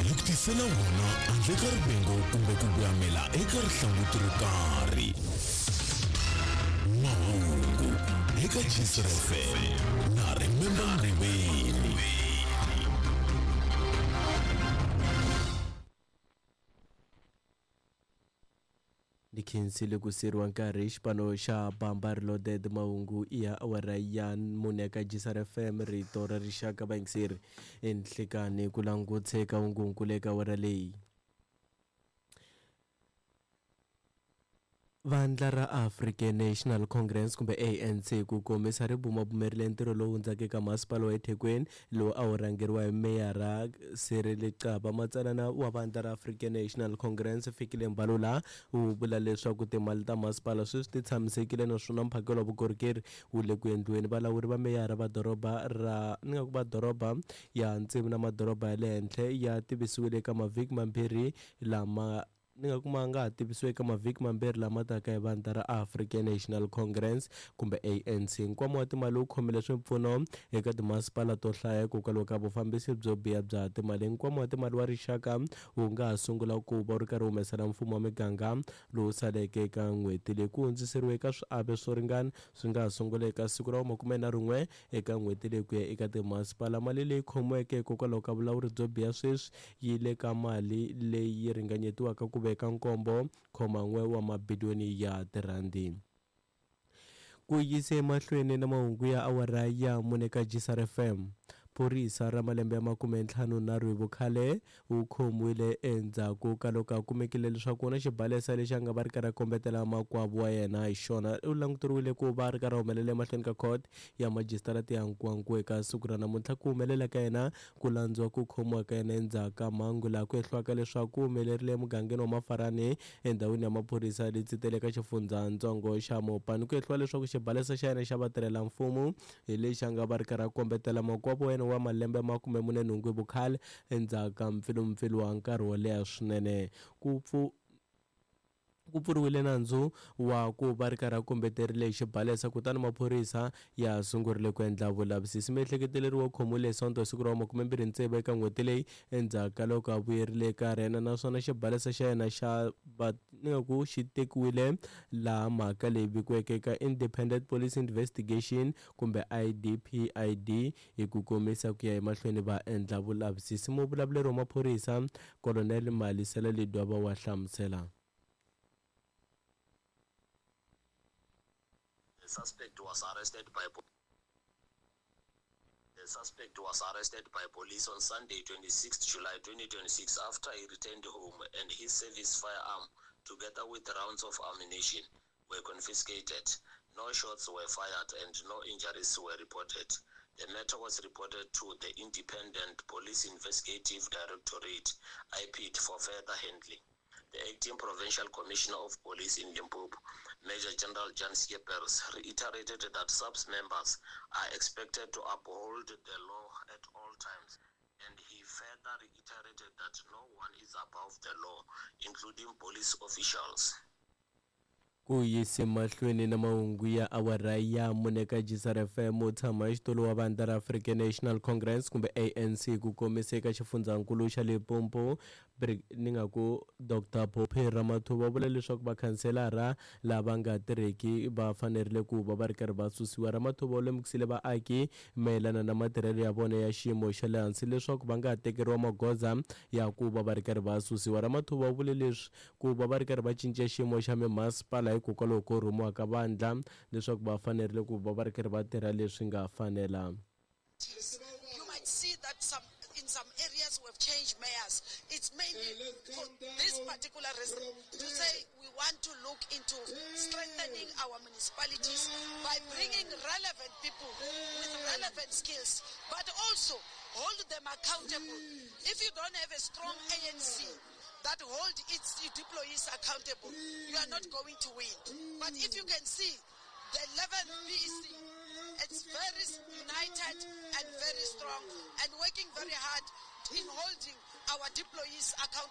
Hi ku tisela wona handle ka rivengo kumbe ku voyamela eka rihlanguti ro karhi. Mahungu eka Jisr FM na Remember Nguveni. Ni khensile ku siriwa nkarhi xipano xa Bamba Reloaded mahungu i ya awara ya mune ka Jisar FM rito ra rixaka vayingiseri enhlekani ku langutse ka hungunkulu eka awara leyi. Vandla ra African National Congress kumbe ANC ku komisa ri bumabumerile ntirho lowu hundzaka eka masipala wa eThekwini lowu a wu rhangeriwa hi meyara Cyril Xaba. Matsalana wa vandla ra African National Congress Fikile Mbalula u vula leswaku timali ta masipala sweswi ti tshamisekile naswona mphakelo wa vukorhokeri wu le ku endliweni. Valawuri va meyara va doroba ra ni nga ku va doroba ya ntsimu na madoroba ya le henhla ya tivisiwile eka mavhiki mambirhi lama ni nga kuma nga ha tivisiwa eka mavhiki mambirhi lama taka hi vandla ra African National Congress kumbe ANC. Nkwama wa timali wu khomile swipfuno eka timasipala to hlaya hikokwalaho ka vufambisi byo biha bya timali. Nkwama wa timali wa rixaka wu nga ha sungula ku va wu ri karhi humesela mfumo wa miganga lowu saleke eka n'hweti leyi. Ku hundziseriwa eka swiave swo ringana swi nga ha sungula eka siku ra 11 eka n'hweti leyi ku ya eka timasipala. Mali leyi khomiweke hikokwalaho ka vulawuri byo biha sweswi yi le ka mali leyi ringanyetiwaka ku veka 7.1 wa mabiliyoni ya tirhandi. Ku yise emahlweni na mahungu ya awara ya mune ka Jisar FM. Phorisa ra malembe ya 53 hi vukhale wu khomiwile endzhaku ka loko a kumekile leswaku na xibalesa lexi a nga va ri karhi a kombetela makwavo wa yena hi xona. U languteriwile ku va ri karhi a humelela emahlweni ka court ya majisitarata ya Nkowankowa eka siku ra namuntlha. Ku humelela ka yena ku landziwa ku khomiwa ka yena endzhaku ka mhangu laha ku hehliwaka leswaku ku humelerile emugangeni wa Mafarani endhawini ya maphorisa le Tsitele eka xifundzatsongo xa Mopani. Ku hehliwa leswaku xibalesa xa yena xa vatirhelamfumo hi lexi a nga va ri karhi a kombetela makwavo wa yena wa malembe ya 48 hi vukhale endzhaku ka mpfilumpfilu wa nkarhi wo leha swinene. Ku ku pfuriwile nandzu wa ku va ri karhi a kombeterile hi xibalesa kutani maphorisa ya sungurile ku endla vulavisisi. Miehleketeleriwa u khomiwile hi Sonto siku ra 26 eka n'hweti leyi endzhaku ka loko a vuyerile eka rena naswona xibalesa xa yena xa va ni nga ku xi tekiwile laha mhaka leyi vikiweke eka Independent Police Investigation kumbe IDPID hi ku komisa ku ya emahlweni va endla vulavisisi. Muvulavuleri wa maphorisa Colonel Malisela Ledwaba wa hlamusela. The suspect was arrested by The suspect was arrested by police on Sunday, 26 July 2026, after he returned home and his service firearm, together with rounds of ammunition, were confiscated. No shots were fired and no injuries were reported. The matter was reported to the Independent Police Investigative Directorate, IPID, for further handling. The acting Provincial Commissioner of Police in Limpopo, Major General Jan Skeepers, reiterated that SAPS members are expected to uphold the law at all times, and he further reiterated that no one is above the law, including police officials. Ku yise mahlweni na mahungu ya awara ya mune ka Jisar FM u tshama xitulu wa vandla ra African National Congress kumbe ANC ku kombisa eka xifundzankulu xa Limpopo ni nga ku Dr Phophi Ramathuba vula leswaku vakhanselara lava nga tirheki va fanerile ku va va ri karhi va susiwa. Ramathuba u lemukisile vaaki mayelana na matirhelo ya vona ya xiyimo xa le hansi leswaku va nga tekeriwa magoza ya ku va va ri karhi va susiwa. Ramathuba u vule leswi ku va va ri karhi va cinca xiyimo xa mimasipala hikokwalaho ko rhumiwa ka vandla leswaku va fanerile ku va va ri karhi va tirha leswi nga fanela. You might see that in some areas we've changed mayors. It's mainly for this particular reason, to say we want to look into strengthening our municipalities by bringing relevant people with relevant skills, but also hold them accountable. If you don't have a strong ANC that hold its employees accountable, you are not going to win. But if you can see the 11th PEC, it's very united and very strong and working very hard in holding our deployees accountable.